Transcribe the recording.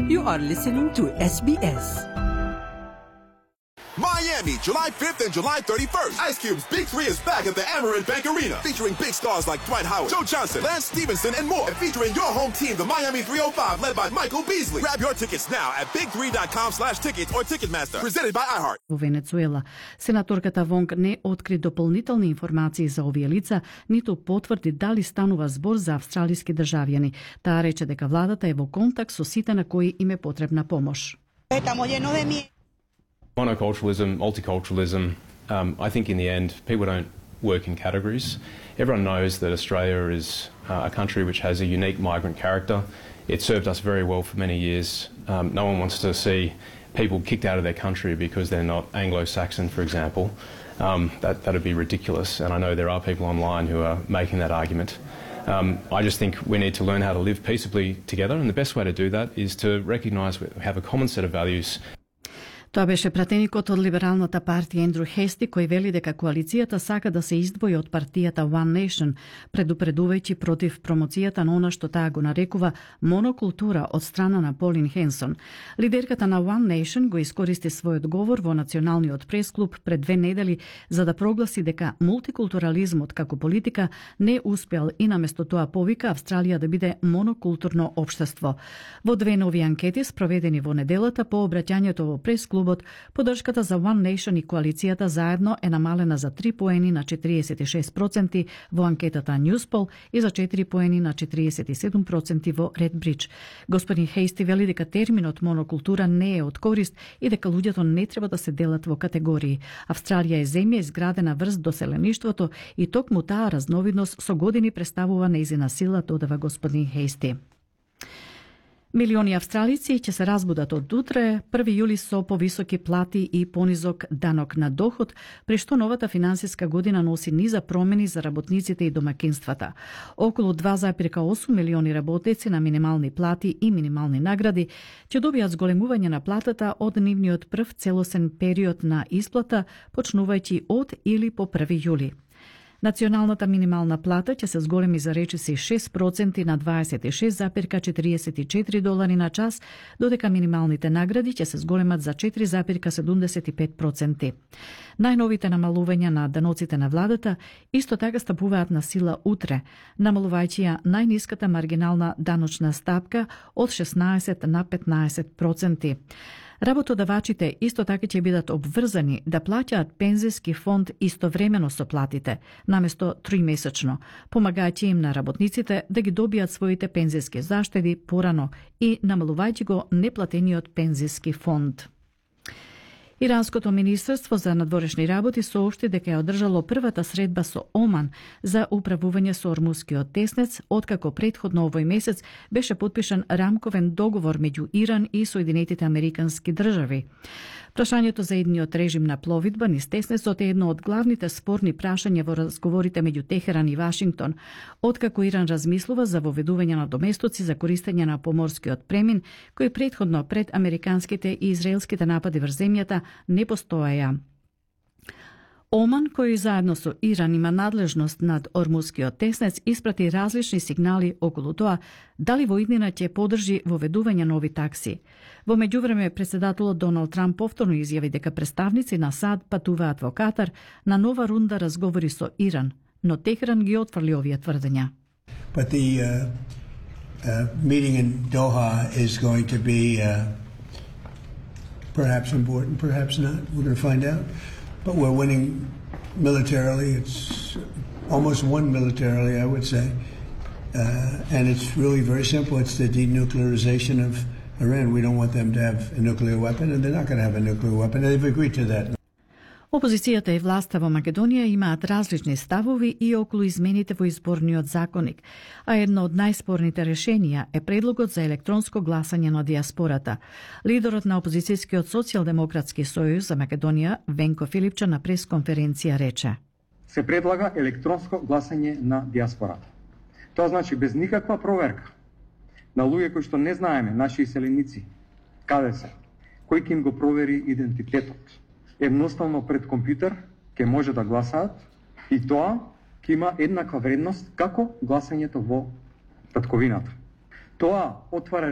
You are listening to SBS. Miami, July 5th and July 31st. Ice Cube's Big 3 is back at the Amerant Bank Arena, featuring big stars like Dwight Howard, Joe Johnson, Lance Stevenson, and more. And featuring your home team, the Miami 305, led by Michael Beasley. Grab your tickets now at big3.com/tickets or Ticketmaster. Presented by iHeart. Во Венецуела, сенаторката Вонг не откри дополнителни информации за овие лица, ниту потврди дали станува збор за австралиски државјани. Таа рече дека владата е во контакт со сите на кои им е потребна помош. Monoculturalism, multiculturalism, I think in the end, people don't work in categories. Everyone knows that Australia is a country which has a unique migrant character. It served us very well for many years. No one wants to see people kicked out of their country because they're not Anglo-Saxon, for example. That would be ridiculous, and I know there are people online who are making that argument. I just think we need to learn how to live peaceably together, and the best way to do that is to recognise we have a common set of values. Тоа беше пратеникот од Либералната партија Ендрю Хести, кој вели дека коалицијата сака да се издвои од партијата One Nation, предупредувајќи против промоцијата на она што таа го нарекува монокултура од страна на Полин Хенсон. Лидерката на One Nation го искористи својот говор во Националниот пресклуб пред 2 недели за да прогласи дека мултикултурализмот како политика не успеал и наместо тоа повика Австралија да биде монокултурно општество. Во 2 нови анкети спроведени во неделата по обраќањето во пресклубот, поддршката за One Nation и коалицијата заедно е намалена за 3 поени на 46% во анкетата Newspoll и за 4 поени на 47% во Redbridge. Господин Хейсти вели дека терминот монокултура не е од корист и дека луѓето не треба да се делат во категории. Австралија е земја изградена врз доселеништвото и токму таа разновидност со години представува нејзина сила, додава господин Хейсти. Милиони австралици ќе се разбудат од утре, 1 јули со повисоки плати и понизок данок на доход, при што новата финансиска година носи низа промени за работниците и домакинствата. Околу 2,8 милиони работници на минимални плати и минимални награди ќе добијат зголемување на платата од нивниот прв целосен период на исплата, почнувајќи од или по 1 јули. Националната минимална плата ќе се зголеми за речиси 6% на $26,44 на час, додека минималните награди ќе се зголемат за 4,75%. Најновите намалувања на даноците на владата исто така стапуваат на сила утре, намалувајќи ја најниската маргинална даночна стапка од 16 на 15%. Работодавачите исто така ќе бидат обврзани да плаќаат пензиски фонд истовремено со платите, наместо 3-месечно, помагајќи им на работниците да ги добијат своите пензиски заштеди порано и намалувајќи го неплатениот пензиски фонд. Иранското министерство за надворешни работи соопшти дека е одржало првата средба со Оман за управување со Ормускиот теснец, откако претходно овој месец беше потпишан рамковен договор меѓу Иран и Соединетите Американски држави. Прашањето за едниот режим на пловидба низ теснецот е едно од главните спорни прашања во разговорите меѓу Техеран и Вашингтон, откако Иран размислува за воведување на доместоци за користење на поморскиот премин, кој претходно пред американските и израелските напади врз земјата не постоеја. Оман, кој заедно со Иран има надлежност над Ормускиот теснец, испрати различни сигнали околу тоа дали во иднина ќе поддржи воведување нови такси. Во меѓувреме, председателот Доналд Трамп повторно изјави дека представници на САД патуваат во Катар на нова рунда разговори со Иран, но Техеран ги отфрли овие тврдења. But the meeting in Doha is going to be perhaps important, perhaps not. We're going to find out. But we're winning militarily. It's almost won militarily, I would say. And it's really very simple. It's the denuclearization of Iran. We don't want them to have a nuclear weapon, and they're not going to have a nuclear weapon. And they've agreed to that. Опозицијата и власта во Македонија имаат различни ставови и околу измените во изборниот законник, а едно од најспорните решенија е предлогот за електронско гласање на диаспората. Лидерот на опозицијскиот социјалдемократски сојуз за Македонија, Венко Филипче, на пресконференција рече: се предлага електронско гласање на диаспората. Тоа значи без никаква проверка на луѓе кои што не знаеме, наши иселеници, каде се, кој ќе им го провери идентитетот. Едноставно пред компјутер ќе може да гласаат и тоа ќе има еднаква вредност како гласањето во татковината. Тоа отвара